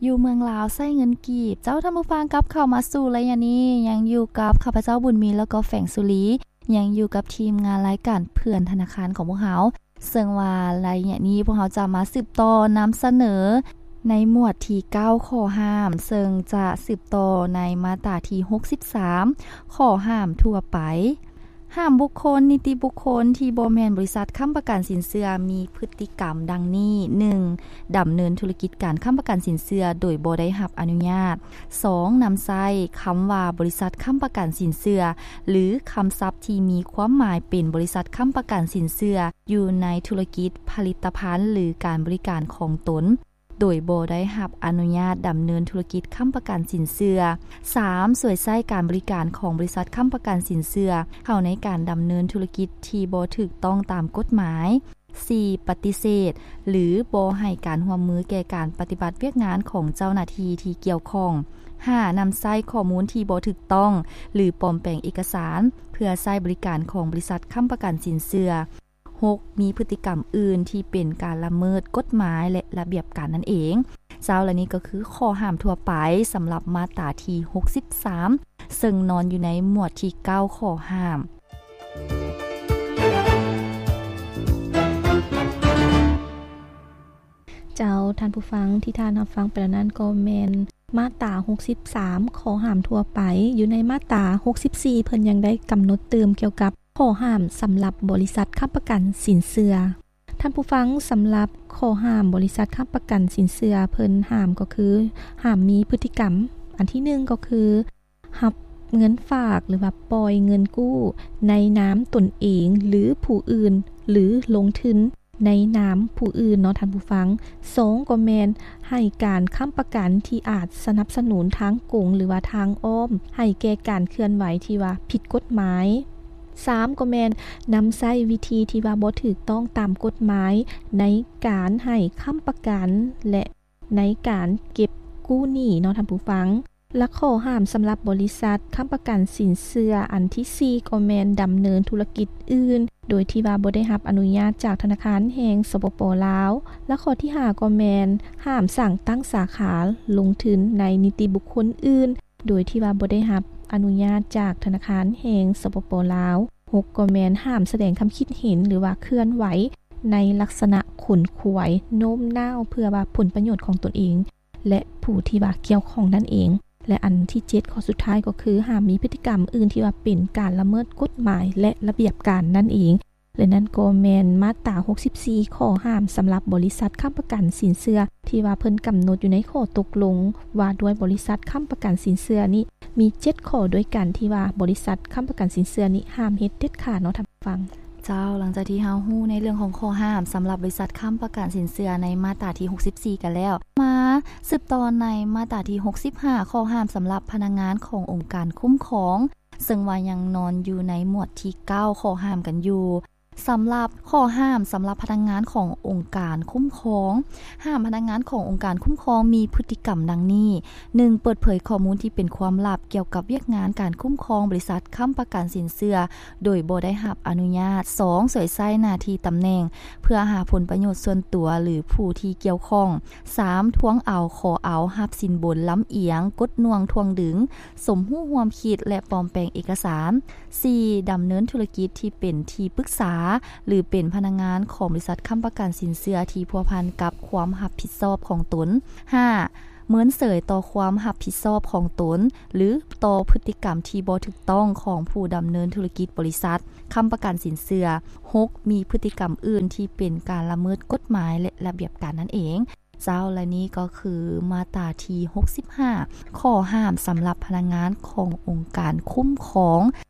ຢູ່ເມືອງລາວໃຊ້ເງິນກີບ. ເຈົ້າ ທ່ານຜູ້ຟັງ ກັບເຂົ້າມາສູ່ໄລຍະນີ້ ຍັງຢູ່ກັບຂ້າພະເຈົ້າ ບຸນມີ ແລ້ວກໍແຟງສຸລີ ຍັງຢູ່ກັບທີມງານລາຍການເພື່ອນທະນາຄານຂອງພວກເຮົາ ເຊິ່ງວ່າໄລຍະນີ້ພວກເຮົາຈະມາສືບຕໍ່ນຳສະເໜີໃນໝວດທີເກົ້າ ຂໍ້ຫ້າມ ເຊິ່ງຈະສືບຕໍ່ໃນມາດຕາທີຫົກສິບສາມ ຂໍ້ຫ້າມທົ່ວໄປ. ຫ້າມບຸກຄົນ, ນິຕິບຸກຄົນທີ່ບໍ່ແມ່ນບໍລິສັດຄ້ຳປະກັນສິນເຊື່ອ ມີພຶດຕິກຳດັ່ງນີ້: ໜຶ່ງ ດຳເນີນທຸລະກິດການຄ້ຳປະກັນສິນເຊື່ອໂດຍບໍ່ໄດ້ຮັບອະນຸຍາດ. ສອງ ນຳໃຊ້ຄຳວ່າບໍລິສັດຄ້ຳປະກັນສິນເຊື່ອ ຫຼື ຄຳສັບທີ່ມີຄວາມໝາຍເປັນບໍລິສັດຄ້ຳປະກັນສິນເຊື່ອ ຢູ່ໃນທຸລະກິດ, ຜະລິດຕະພັນ ຫຼື ການບໍລິການຂອງຕົນ ໂດຍບໍ່ໄດ້ຮັບອະນຸຍາດດຳເນີນທຸລະກິດຄ້ຳປະກັນສິນເຊື່ອ. ສາມ ສວຍໃຊ້ການບໍລິການຂອງບໍລິສັດຄ້ຳປະກັນສິນເຊື່ອ ເຂົ້າໃນການດຳເນີນທຸລະກິດທີ່ບໍ່ຖືກຕ້ອງຕາມກົດໝາຍ. ສີ່ ປະຕິເສດ ຫຼື ບໍ່ໃຫ້ການຮ່ວມມືແກ່ການປະຕິບັດວຽກງານຂອງເຈົ້າໜ້າທີ່ທີ່ກ່ຽວຂ້ອງ. ຫ້າ ນຳໃຊ້ຂໍ້ມູນທີ່ບໍ່ຖືກຕ້ອງ ຫຼື ປອມແປງເອກະສານ ເພື່ອໃຊ້ບໍລິການຂອງບໍລິສັດຄ້ຳປະກັນສິນເຊື່ອ. ຫົກ ມີພຶດຕິກຳອື່ນທີ່ເປັນການລະເມີດກົດໝາຍ ແລະ ລະບຽບການນັ້ນເອງ. ເຈົ້າ ແລະ ນີ້ກໍຄືຂໍ້ຫ້າມທົ່ວໄປສຳລັບມາດຕາທີຫົກສິບສາມ ເຊິ່ງນອນຢູ່ໃນໝວດທີເກົ້າ ຂໍ້ຫ້າມ. ເຈົ້າ ທ່ານຜູ້ຟັງ ທີ່ທ່ານຮັບຟັງໄປແລ້ວນັ້ນ ກໍແມ່ນມາດຕາຫົກສິບສາມ ຂໍ້ຫ້າມທົ່ວໄປ. ຢູ່ໃນມາດຕາຫົກສິບສີ່ ເພິ່ນຍັງໄດ້ກຳນົດຕື່ມກ່ຽວກັບ ຂໍ້ຫ້າມສຳລັບບໍລິສັດຄ້ຳປະກັນສິນເຊື່ອ. ທ່ານຜູ້ຟັງ, ສຳລັບຂໍ້ຫ້າມບໍລິສັດຄ້ຳປະກັນສິນເຊື່ອ ເພິ່ນຫ້າມກໍຄື ຫ້າມມີພຶດຕິກຳ ອັນທີໜຶ່ງກໍຄື ຮັບເງິນຝາກ ຫຼືວ່າປ່ອຍເງິນກູ້ໃນນາມຕົນເອງ ຫຼືຜູ້ອື່ນ ຫຼືລົງທຶນໃນນາມຜູ້ອື່ນເນາະທ່ານຜູ້ຟັງ. ສອງ ກໍແມ່ນໃຫ້ການຄ້ຳປະກັນທີ່ອາດສະໜັບສະໜູນທາງກົງ ຫຼືວ່າທາງອ້ອມ ໃຫ້ແກ່ການເຄື່ອນໄຫວທີ່ວ່າຜິດກົດໝາຍ. ສາມ ກໍແມ່ນນຳໃຊ້ວິທີທີ່ວ່າບໍ່ຖືກຕ້ອງຕາມກົດໝາຍ ໃນການໃຫ້ຄ້ຳປະກັນ ແລະ ໃນການເກັບກູ້ໜີ້ເນາະທ່ານຜູ້ຟັງ. ແລະ ຂໍ້ຫ້າມສຳລັບບໍລິສັດຄ້ຳປະກັນສິນເຊື່ອ ອັນທີສີ່ ກໍແມ່ນດຳເນີນທຸລະກິດອື່ນ ໂດຍທີ່ວ່າບໍ່ໄດ້ຮັບອະນຸຍາດຈາກທະນາຄານແຫ່ງ ສປປ ລາວ. ແລະ ຂໍ້ທີຫ້າ ກໍແມ່ນຫ້າມສ້າງຕັ້ງສາຂາ ລົງທຶນໃນນິຕິບຸກຄົນອື່ນ ໂດຍທີ່ວ່າບໍ່ໄດ້ຮັບອະນຸຍາດຈາກທະນາຄານແຫ່ງ ສປປ ລາວ. ຫົກ ກໍແມ່ນຫ້າມສະແດງຄຳຄິດເຫັນ ຫຼືວ່າເຄື່ອນໄຫວໃນລັກສະນະຂົນຂວາຍໂນ້ມນ້າວ ເພື່ອວ່າຜົນປະໂຫຍດຂອງຕົນເອງ ແລະ ຜູ້ທີ່ວ່າກ່ຽວຂ້ອງນັ້ນເອງ. ແລະ ອັນທີເຈັດ ຂໍ້ສຸດທ້າຍກໍຄື ຫ້າມມີພຶດຕິກຳອື່ນທີ່ວ່າເປັນການລະເມີດກົດໝາຍ ແລະ ລະບຽບການນັ້ນເອງ. ແລະ ນັ້ນກໍແມ່ນມາດຕາຫົກສິບສີ່ ຂໍ້ຫ້າມສຳລັບບໍລິສັດຄ້ຳປະກັນສິນເຊື່ອ ທີ່ວ່າເພິ່ນກຳນົດຢູ່ໃນຂໍ້ຕົກລົງວ່າດ້ວຍບໍລິສັດຄ້ຳປະກັນສິນເຊື່ອນີ້ ມີເຈັດຂໍ້ດ້ວຍກັນ ທີ່ວ່າບໍລິສັດຄ້ຳປະກັນສິນເຊື່ອນີ້ຫ້າມເຮັດເດັດຂາດເນາະທ່ານຜູ້ຟັງ. ເຈົ້າ, ຫຼັງຈາກທີ່ເຮົາຮູ້ໃນເລື່ອງຂອງຂໍ້ຫ້າມສຳລັບບໍລິສັດຄ້ຳປະກັນສິນເຊື່ອໃນມາດຕາທີຫົກສິບສີ່ກັນແລ້ວ, ມາສືບຕໍ່ໃນມາດຕາທີຫົກສິບຫ້າ ຂໍ້ຫ້າມສຳລັບພະນັກງານຂອງອົງການຄຸ້ມຄອງ, ເຊິ່ງວ່າຍັງນອນຢູ່ໃນໝວດທີເກົ້າ ຂໍ້ຫ້າມກັນຢູ່. ສຳລັບຂໍ້ຫ້າມສຳລັບພະນັກງານຂອງອົງການຄຸ້ມຄອງ, ຫ້າມພະນັກງານຂອງອົງການຄຸ້ມຄອງມີພຶດຕິກຳດັ່ງນີ້: ໜຶ່ງ ເປີດເຜີຍຂໍ້ມູນທີ່ເປັນຄວາມລັບກ່ຽວກັບວຽກງານການຄຸ້ມຄອງບໍລິສັດຄ້ຳປະກັນສິນເຊື່ອ ໂດຍບໍ່ໄດ້ຮັບອະນຸຍາດ. ສອງ ສວຍໃຊ້ໜ້າທີ່ຕຳແໜ່ງເພື່ອຫາຜົນປະໂຫຍດສ່ວນຕົວ ຫຼື ຜູ້ທີ່ກ່ຽວຂ້ອງ. ສາມ ທວງເອົາ, ຂໍເອົາ, ຮັບສິນບົນລຳອຽງ, ກົດໜ່ວງ, ຖ່ວງດຶງ, ສົມຮູ້ຮ່ວມຄິດ ແລະ ປອມແປງເອກະສານ. ສີ່ ດຳເນີນທຸລະກິດທີ່ເປັນທີ່ປຶກສາ ຫຼື ເປັນພະນັກງານຂອງບໍລິສັດຄ້ຳປະກັນສິນເຊື່ອທີ່ພົວພັນກັບຄວາມຮັບຜິດຊອບຂອງຕົນ. ຫ້າ ເມີນເສີຍຕໍ່ຄວາມຮັບຜິດຊອບຂອງຕົນ ຫຼື ຕໍ່ພຶດຕິກຳທີ່ບໍ່ຖືກຕ້ອງຂອງຜູ້ດຳເນີນທຸລະກິດບໍລິສັດຄ້ຳປະກັນສິນເຊື່ອ. ຫົກ ມີພຶດຕິກຳອື່ນທີ່ເປັນການລະເມີດກົດໝາຍ ແລະ ລະບຽບການນັ້ນເອງ. ເຈົ້າ, ແລະ ນີ້ກໍຄືມາດຕາທີຫົກສິບຫ້າ ຂໍ້ຫ້າມສຳລັບພະນັກງານຂອງອົງການຄຸ້ມຄອງ,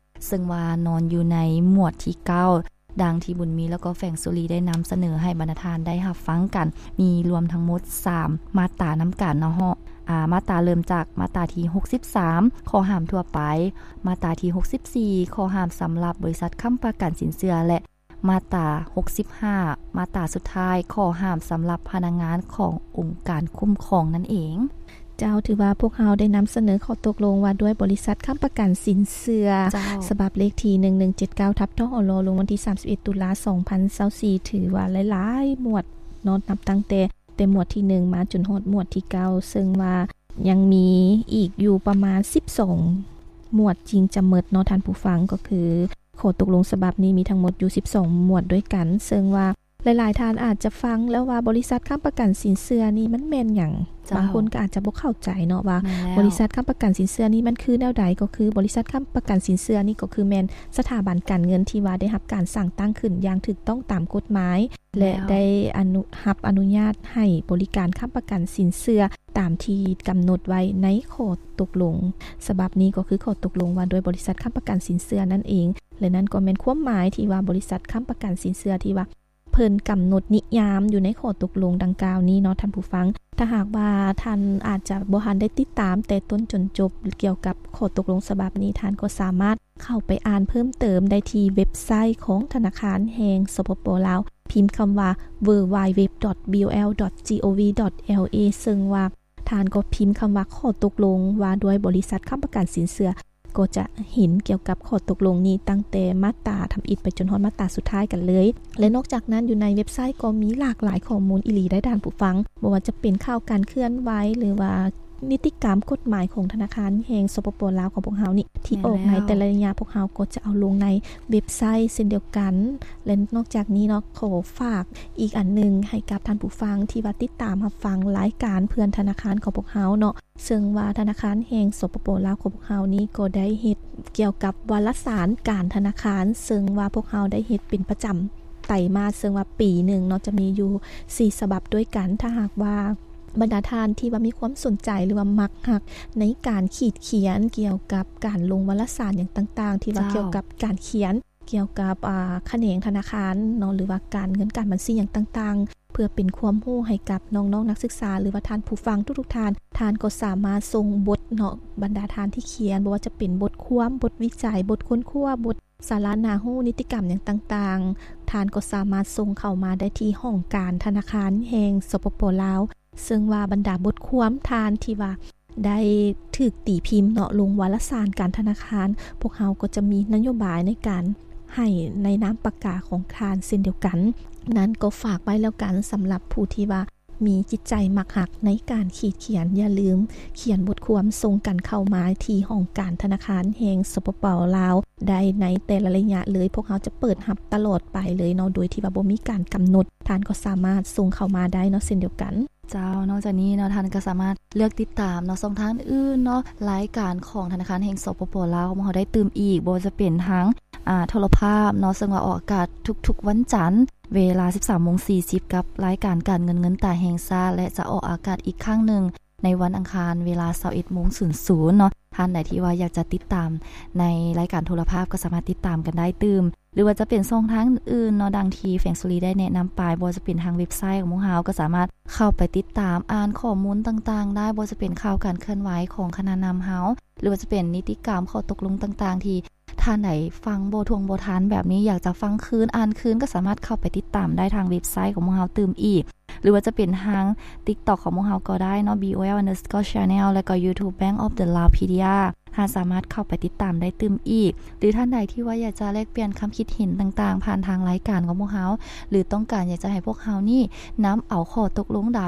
ເຊິ່ງວ່ານອນຢູ່ໃນໝວດທີເກົ້າ ດັ່ງທີ່ບຸນມີ ແລ້ວກໍແຟງສຸລີໄດ້ນຳສະເໜີໃຫ້ບັນດາທ່ານໄດ້ຮັບຟັງກັນ, ມີລວມທັງໝົດສາມມາດຕານຳກັນເນາະ. ອາ, ມາດຕາເລີ່ມຈາກມາດຕາທີຫົກສິບສາມ ຂໍ້ຫ້າມທົ່ວໄປ, ມາດຕາທີຫົກສິບສີ່ ຂໍ້ຫ້າມສຳລັບບໍລິສັດຄ້ຳປະກັນສິນເຊື່ອ ແລະ ມາດຕາຫົກສິບຫ້າ ມາດຕາສຸດທ້າຍ ຂໍ້ຫ້າມສຳລັບພະນັກງານຂອງອົງການຄຸ້ມຄອງນັ້ນເອງ. ເຈົ້າ, ຖືວ່າພວກເຮົາໄດ້ນຳສະເໜີຂໍ້ຕົກລົງວ່າດ້ວຍບໍລິສັດຄ້ຳປະກັນສິນເຊື່ອ ເຈົ້າ. ສະບັບເລກທີໜຶ່ງໜຶ່ງເຈັດເກົ້າ ທັບ ທອລ ລົງວັນທີສາມສິບເອັດ ຕຸລາ ສອງພັນຊາວສີ່ ຖືວ່າຫຼາຍໆໝວດເນາະ, ນັບຕັ້ງແຕ່ ແຕ່ໝວດທີໜຶ່ງມາຈົນຮອດໝວດທີເກົ້າ ເຊິ່ງວ່າຍັງມີອີກຢູ່ປະມານສິບສອງໝວດຈຶ່ງຈະໝົດເນາະທ່ານຜູ້ຟັງ. ກໍຄືຂໍ້ຕົກລົງສະບັບນີ້ມີທັງໝົດຢູ່ສິບສອງໝວດດ້ວຍກັນ ເຊິ່ງວ່າ ຫຼາຍໆທ່ານອາດຈະຟັງແລ້ວວ່າບໍລິສັດຄ້ຳປະກັນສິນເຊື່ອນີ້ມັນແມ່ນຫຍັງ? ເຈົ້າ ບາງຄົນກໍອາດຈະບໍ່ເຂົ້າໃຈເນາະວ່າ ແມ່ນແລ້ວ ບໍລິສັດຄ້ຳປະກັນສິນເຊື່ອນີ້ມັນຄືແນວໃດ? ກໍຄືບໍລິສັດຄ້ຳປະກັນສິນເຊື່ອນີ້ກໍຄືແມ່ນສະຖາບັນການເງິນທີ່ວ່າໄດ້ຮັບການສ້າງຕັ້ງຂຶ້ນຢ່າງຖືກຕ້ອງຕາມກົດໝາຍ ແລະ ແລ້ວ ໄດ້ອະນຸ ຮັບອະນຸຍາດໃຫ້ບໍລິການຄ້ຳປະກັນສິນເຊື່ອຕາມທີ່ກຳນົດໄວ້ໃນຂໍ້ຕົກລົງສະບັບນີ້ ກໍຄືຂໍ້ຕົກລົງວ່າດ້ວຍບໍລິສັດຄ້ຳປະກັນສິນເຊື່ອນັ້ນເອງ ແລະ ນັ້ນກໍແມ່ນຄວາມໝາຍທີ່ວ່າບໍລິສັດຄ້ຳປະກັນສິນເຊື່ອທີ່ວ່າ ເພິ່ນກຳນົດນິຍາມຢູ່ໃນຂໍ້ຕົກລົງດັ່ງກ່າວນີ້ເນາະທ່ານຜູ້ຟັງ. ຖ້າຫາກວ່າທ່ານອາດຈະບໍ່ທັນໄດ້ຕິດຕາມແຕ່ຕົ້ນຈົນຈົບກ່ຽວກັບຂໍ້ຕົກລົງສະບັບນີ້ ທ່ານກໍສາມາດເຂົ້າໄປອ່ານເພີ່ມເຕີມໄດ້ທີ່ເວັບໄຊຂອງທະນາຄານແຫ່ງ ສປປ ລາວ ພິມຄຳວ່າ www.bol.gov.la ເຊິ່ງວ່າ ທ່ານກໍພິມຄຳວ່າ ຂໍ້ຕົກລົງວ່າດ້ວຍບໍລິສັດຄ້ຳປະກັນສິນເຊື່ອ ກໍຈະເຫັນກ່ຽວກັບຂໍ້ຕົກລົງນີ້ ຕັ້ງແຕ່ມາດຕາທຳອິດໄປຈົນຮອດມາດຕາສຸດທ້າຍກັນເລີຍ. ແລະ ນອກຈາກນັ້ນ ຢູ່ໃນເວັບໄຊກໍມີຫຼາກຫຼາຍຂໍ້ມູນອີ່ຫຼີໄດ໋ທ່ານຜູ້ຟັງ, ບໍ່ວ່າຈະເປັນຂ່າວການເຄື່ອນໄຫວ ຫຼືວ່ານິຕິກຳກົດໝາຍຂອງທະນາຄານແຫ່ງ ສປປ ລາວ ຂອງພວກເຮົານີ້ ທີ່ອອກໃນແຕ່ລະໄລຍະ ພວກເຮົາກໍຈະເອົາລົງໃນເວັບໄຊເຊັ່ນດຽວກັນ. ແລະ ນອກຈາກນີ້ເນາະ ຂໍຝາກອີກອັນໜຶ່ງໃຫ້ກັບທ່ານຜູ້ຟັງທີ່ວ່າຕິດຕາມຮັບຟັງລາຍການເພື່ອນທະນາຄານຂອງພວກເຮົາເນາະ, ເຊິ່ງວ່າທະນາຄານແຫ່ງ ສປປ ລາວ ຂອງພວກເຮົານີ້ກໍໄດ້ເຮັດກ່ຽວກັບວາລະສານການທະນາຄານ, ເຊິ່ງວ່າພວກເຮົາໄດ້ເຮັດເປັນປະຈຳໄຕມາດ, ເຊິ່ງວ່າປີໜຶ່ງເນາະ ຈະມີຢູ່ສີ່ສະບັບດ້ວຍກັນ. ຖ້າຫາກວ່າບັນດາທ່ານທີ່ວ່າມີຄວາມສົນໃຈ ຫຼືວ່າມັກຮັກໃນການຂີດຂຽນກ່ຽວກັບການລົງວາລະສານຫຍັງຕ່າງໆ ທີ່ວ່າ ເຈົ້າ ກ່ຽວກັບການຂຽນ ກ່ຽວກັບ ອາ ຂະແໜງທະນາຄານເນາະ ຫຼືວ່າການເງິນການບັນຊີຫຍັງຕ່າງໆ ເພື່ອເປັນຄວາມຮູ້ໃຫ້ກັບນ້ອງໆນັກສຶກສາ ຫຼືວ່າທ່ານຜູ້ຟັງທຸກໆທ່ານ, ທ່ານກໍສາມາດສົ່ງບົດເນາະ ບັນດາທ່ານທີ່ຂຽນ ບໍ່ວ່າຈະເປັນບົດຄວາມ, ບົດວິໄຈ, ບົດຄົ້ນຄວ້າ, ບົດສາລະໜ້າຮູ້, ນິຕິກຳຫຍັງຕ່າງໆ, ທ່ານກໍສາມາດສົ່ງເຂົ້າມາໄດ້ທີ່ຫ້ອງການທະນາຄານແຫ່ງ ສປປ ລາວ. ເຊິ່ງວ່າບັນດາບົດຄວາມທ່ານທີ່ວ່າໄດ້ຖືກຕີພິມເນາະ ລົງວາລະສານການທະນາຄານ, ພວກເຮົາກໍຈະມີນະໂຍບາຍໃນການໃຫ້ໃນນາມປາກກາຂອງທ່ານເຊັ່ນດຽວກັນ. ນັ້ນກໍຝາກໄວ້ແລ້ວກັນ ສຳລັບຜູ້ທີ່ວ່າມີຈິດໃຈມັກຮັກໃນການຂີດຂຽນ, ຢ່າລືມຂຽນບົດຄວາມສົ່ງກັນເຂົ້າມາທີ່ຫ້ອງການທະນາຄານແຫ່ງ ສປປ ລາວ ໄດ້ໃນແຕ່ລະໄລຍະເລີຍ. ພວກເຮົາຈະເປີດຮັບຕະຫຼອດໄປເລີຍເນາະ ໂດຍທີ່ວ່າບໍ່ມີການກຳນົດ. ທ່ານກໍສາມາດສົ່ງເຂົ້າມາໄດ້ເນາະ ເຊັ່ນດຽວກັນ. ເຈົ້າ, ນອກຈາກນີ້ເນາະ ທ່ານກໍສາມາດເລືອກຕິດຕາມເນາະ ຊ່ອງທາງອື່ນເນາະ ລາຍການຂອງທະນາຄານແຫ່ງ ສປປ ລາວ ຂອງເຮົາໄດ້ຕື່ມອີກ, ບໍ່ວ່າຈະເປັນທາງ ອ່າ ໂທລະພາບເນາະ ເຊິ່ງວ່າອອກອາກາດທຸກໆວັນຈັນ ເວລາສິບສາມໂມງສີ່ສິບ ກັບລາຍການການເງິນເງິນຕາແຫ່ງຊາດ ແລະ ຈະອອກອາກາດອີກຄັ້ງໜຶ່ງ ໃນວັນອັງຄານເວລາຊາວເອັດໂມງສູນສູນເນາະ. ທ່ານໃດທີ່ວ່າຢາກຈະຕິດຕາມໃນລາຍການໂທລະພາບ ກໍສາມາດຕິດຕາມກັນໄດ້ຕື່ມ ຫຼືວ່າຈະເປັນຊ່ອງທາງອື່ນໆເນາະ ດັ່ງທີ່ແຂວງສຸລີໄດ້ແນະນຳໄປ, ບໍ່ວ່າຈະເປັນທາງເວັບໄຊຂອງພວກເຮົາ ກໍສາມາດເຂົ້າໄປຕິດຕາມອ່ານຂໍ້ມູນຕ່າງໆໄດ້, ບໍ່ວ່າຈະເປັນຂ່າວການເຄື່ອນໄຫວຂອງຄະນະນຳເຮົາ ຫຼືວ່າຈະເປັນນິຕິກຳ ຂໍ້ຕົກລົງຕ່າງໆ ທີ່ ທ່ານໃດຟັງບໍ່ຖ້ວງບໍ່ທັນແບບນີ້ ຢາກຈະຟັງຄືນ ອ່ານຄືນ ກໍສາມາດເຂົ້າໄປຕິດຕາມໄດ້ທາງເວັບໄຊຂອງພວກເຮົາຕື່ມອີກ ຫຼືວ່າຈະເປັນທາງ TikTok ຂອງພວກເຮົາກໍໄດ້ເນາະ BOL underscore channel ແລ້ວກໍ YouTube Bank of the Laopedia ທ່ານສາມາດເຂົ້າໄປຕິດຕາມໄດ້ຕື່ມອີກ. ຫຼືທ່ານໃດທີ່ວ່າຢາກຈະແລກປ່ຽນຄຳຄິດເຫັນຕ່າງໆ ຜ່ານທາງລາຍການຂອງພວກເຮົາ ຫຼືຕ້ອງການຢາກຈະໃຫ້ພວກເຮົານີ້ນຳເອົາຂໍ້ຕົກລົງໃດ,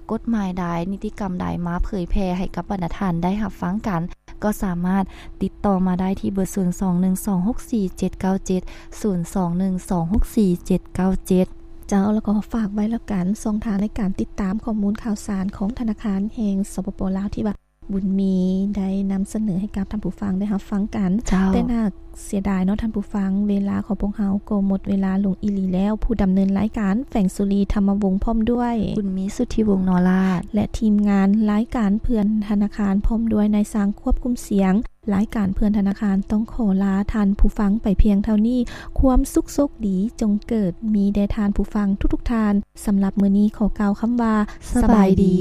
ກົດໝາຍໃດ, ນິຕິກຳໃດມາເຜີຍແຜ່ໃຫ້ກັບບັນດາທ່ານໄດ້ຮັບຟັງກັນ, ກໍສາມາດຕິດຕໍ່ມາໄດ້ທີ່ເບີ ສູນສອງໜຶ່ງສອງຫົກສີ່ເຈັດເກົ້າເຈັດ ສູນສອງໜຶ່ງສອງຫົກສີ່ເຈັດເກົ້າເຈັດ. ເຈົ້າ, ແລ້ວກໍຝາກໄວ້ແລ້ວກັນ ຊ່ອງທາງໃນການຕິດຕາມຂໍ້ມູນຂ່າວສານຂອງທະນາຄານແຫ່ງ ສປປ ລາວ ທີ່ວ່າບຸນມີໄດ້ນຳສະເໜີໃຫ້ກັບທ່ານຜູ້ຟັງໄດ້ຮັບຟັງກັນ. ເຈົ້າ. ແຕ່ໜ້າເສຍດາຍເນາະທ່ານຜູ້ຟັງ, ເວລາຂອງພວກເຮົາກໍໝົດເວລາລົງອີ່ຫຼີແລ້ວ. ຜູ້ດຳເນີນລາຍການ ແຟງສຸລີ ທຳມະວົງ ພ້ອມດ້ວຍ ບຸນມີ ສຸດທິວົງ ນໍລາດ ແລະ ທີມງານລາຍການເພື່ອນທະນາຄານ ພ້ອມດ້ວຍນາຍຊ່າງຄວບຄຸມສຽງ ລາຍການເພື່ອນທະນາຄານຕ້ອງຂໍລາທ່ານຜູ້ຟັງໄປພຽງເທົ່ານີ້. ຄວາມສຸກໂຊກດີຈົ່ງເກີດມີແດ່ທ່ານຜູ້ຟັງທຸກໆທ່ານ. ສຳລັບມື້ນີ້ຂໍກ່າວຄຳວ່າ ສະບາຍດີ.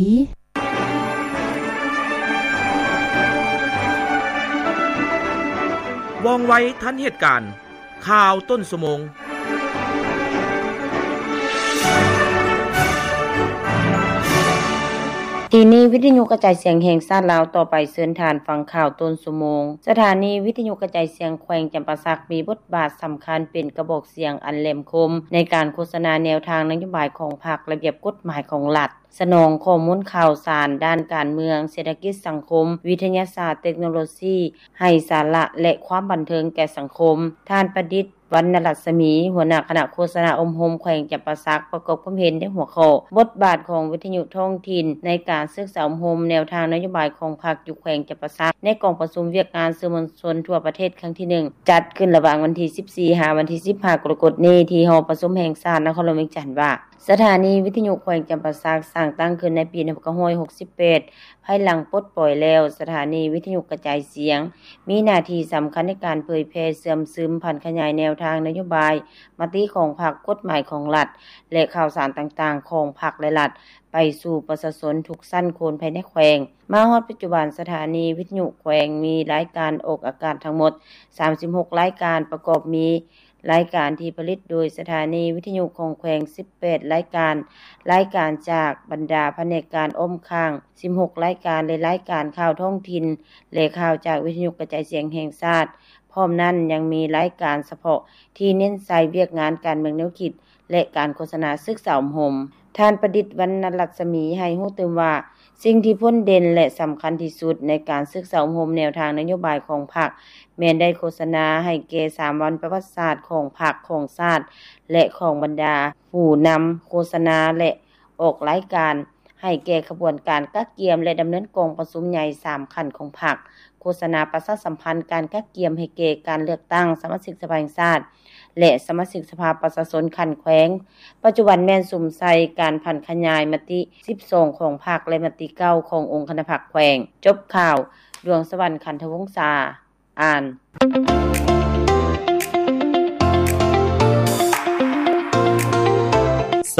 ວ່ອງໄວທັນເຫດການ. ຂ່າວຕົ້ນຊົ່ວໂມງ. ທີ່ນີ້ ວິທະຍຸກະຈາຍສຽງແຫ່ງຊາດລາວ ຕໍ່ໄປເຊີນທ່ານຟັງຂ່າວຕົ້ນຊົ່ວໂມງ. ສະຖານີວິທະຍຸກະຈາຍສຽງແຂວງຈຳປາສັກ ມີບົດບາດສຳຄັນເປັນກະບອກສຽງອັນແຫຼມຄົມ ໃນການໂຄສະນາແນວທາງນະໂຍບາຍຂອງພັກ, ລະບຽບກົດໝາຍຂອງລັດ, ສະໜອງຂໍ້ມູນຂ່າວສານດ້ານການເມືອງ, ເສດຖະກິດ, ສັງຄົມ, ວິທະຍາສາດ, ເຕັກໂນໂລຊີ ໃຫ້ສາລະ ແລະ ຄວາມບັນເທີງແກ່ສັງຄົມ. ທ່ານ ປະດິດ ວັນນະລັດສະໝີ ຫົວໜ້າຄະນະໂຄສະນາອົບຮົມແຂວງຈຳປາສັກ ປະກອບຄວາມເຫັນໃນຫົວຂໍ້ ບົດບາດຂອງວິທະຍຸທ້ອງຖິ່ນໃນການສຶກສາອົບຮົມແນວທາງນະໂຍບາຍຂອງພັກຢູ່ແຂວງຈຳປາສັກ ໃນກອງປະຊຸມວຽກງານສື່ມວນຊົນທົ່ວປະເທດຄັ້ງທີໜຶ່ງ ຈັດຂຶ້ນລະຫວ່າງວັນທີສິບສີ່ ຫາວັນທີສິບຫ້າ ກໍລະກົດນີ້ ທີ່ຫໍປະຊຸມແຫ່ງຊາດນະຄອນຫຼວງວຽງຈັນວ່າ ສະຖານີວິທະຍຸແຂວງຈຳປາສັກສ້າງຕັ້ງຂຶ້ນໃນປີໜຶ່ງພັນເກົ້າຮ້ອຍຫົກສິບແປດ ພາຍຫຼັງປົດປ່ອຍແລ້ວ, ສະຖານີວິທະຍຸກະຈາຍສຽງ ມີໜ້າທີ່ສຳຄັນໃນການເຜີຍແຜ່, ເຊື່ອມຊຶມ, ຜັນຂະຫຍາຍແນວທາງນະໂຍບາຍ, ມະຕິຂອງພັກ, ກົດໝາຍຂອງລັດ ແລະ ຂ່າວສານຕ່າງໆຂອງພັກ ແລະ ລັດ ໄປສູ່ປະຊາຊົນທຸກຊັ້ນຄົນພາຍໃນແຂວງ. ມາຮອດປັດຈຸບັນ, ສະຖານີວິທະຍຸແຂວງມີລາຍການອອກອາກາດທັງໝົດສາມສິບຫົກລາຍການ, ປະກອບມີ ລາຍການທີ່ຜະລິດໂດຍສະຖານີວິທະຍຸຂອງແຂວງສິບແປດລາຍການ, ລາຍການຈາກບັນດາພະແນກການອ້ອມຂ້າງສິບຫົກລາຍການ ແລະ ລາຍການຂ່າວທ້ອງຖິ່ນ ແລະ ຂ່າວຈາກວິທະຍຸກະຈາຍສຽງແຫ່ງຊາດ. ພ້ອມນັ້ນຍັງມີລາຍການສະເພາະທີ່ເນັ້ນໃສ່ວຽກງານການເມືອງແນວຄິດ ແລະ ການໂຄສະນາສຶກສາອົບຮົມ. ທ່ານ ປະດິດ ວັນນະລັດສະໝີ ໃຫ້ຮູ້ຕື່ມວ່າ ສິ່ງທີ່ພົ້ນເດັ່ນ ແລະ ສຳຄັນທີ່ສຸດໃນການສຶກສາອົບຮົມແນວທາງນະໂຍບາຍຂອງພັກ ແມ່ນໄດ້ໂຄສະນາໃຫ້ແກ່ສາມວັນປະຫວັດສາດຂອງພັກ, ຂອງຊາດ ແລະ ຂອງບັນດາຜູ້ນຳໂຄສະນາ ແລະ ອອກລາຍການໃຫ້ແກ່ຂະບວນການກະກຽມ ແລະ ດຳເນີນກອງປະຊຸມໃຫຍ່ສາມຂັ້ນຂອງພັກ, ໂຄສະນາປະຊາສຳພັນການກະກຽມໃຫ້ແກ່ການເລືອກຕັ້ງສະມາຊິກສະພາແຫ່ງຊາດ ແລະ ສະມາຊິກສະພາປະຊາຊົນຂັ້ນແຂວງ. ປັດຈຸບັນແມ່ນສຸມໃສ່ການຜັນຂະຫຍາຍມະຕິສິບສອງຂອງພັກ ແລະ ມະຕິເກົ້າຂອງອົງຄະນະພັກແຂວງ. ຈົບຂ່າວ, ດວງສະຫວັນ ຂັນທະວົງສາ ອ່ານ.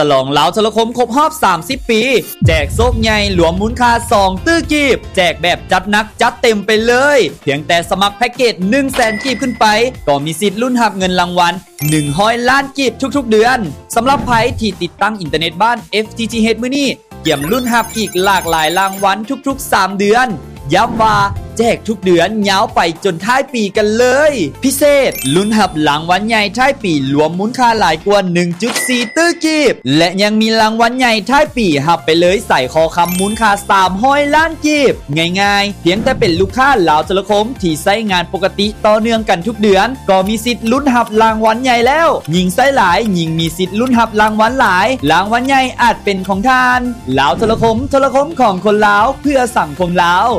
ສະຫຼອງລາວໂທລະຄົມຄົບຮອບສາມສິບປີ ແຈກໂຊກໃຫຍ່ລວມມູນຄ່າສອງຕື້ກີບ, ແຈກແບບຈັດໜັກຈັດເຕັມໄປເລີຍ. ພຽງແຕ່ສະໝັກແພັກເກດໜຶ່ງແສນກີບຂຶ້ນໄປ ກໍມີສິດລຸ້ນຮັບເງິນລາງວັນ ໜຶ່ງຮ້ອຍລ້ານກີບທຸກໆເດືອນ. ສຳລັບໃຜທີ່ຕິດຕັ້ງອິນເຕີເນັດບ້ານ FTTH ມື້ນີ້ ກຽມລຸ້ນຮັບອີກຫຼາກຫຼາຍລາງວັນທຸກໆສາມເດືອນ. ຢ້ຳວ່າແຈກທຸກເດືອນຍາວໄປຈົນທ້າຍປີກັນເລີຍ. ພິເສດ, ລຸ້ນຮັບລາງວັນໃຫຍ່ທ້າຍປີລວມມູນຄ່າຫຼາຍກວ່າໜຶ່ງຈຸດສີ່ຕື້ກີບ ແລະ ຍັງມີລາງວັນໃຫຍ່ທ້າຍປີຮັບໄປເລີຍສາຍຄໍຄຳມູນຄ່າສາມຮ້ອຍລ້ານກີບ. ງ່າຍໆ, ພຽງແຕ່ເປັນລູກຄ້າລາວໂທລະຄົມທີ່ໃຊ້ງານປົກກະຕິຕໍ່ເນື່ອງກັນທຸກເດືອນ ກໍມີສິດລຸ້ນຮັບລາງວັນໃຫຍ່ແລ້ວ. ຍິ່ງໃຊ້ຫຼາຍ, ຍິ່ງມີສິດລຸ້ນຮັບລາງວັນຫຼາຍ. ລາງວັນໃຫຍ່ອາດເປັນຂອງທ່ານ. ລາວໂທລະຄົມ, ໂທລະຄົມຂອງຄົນລາວ, ເພື່ອສັງຄົມລາວ.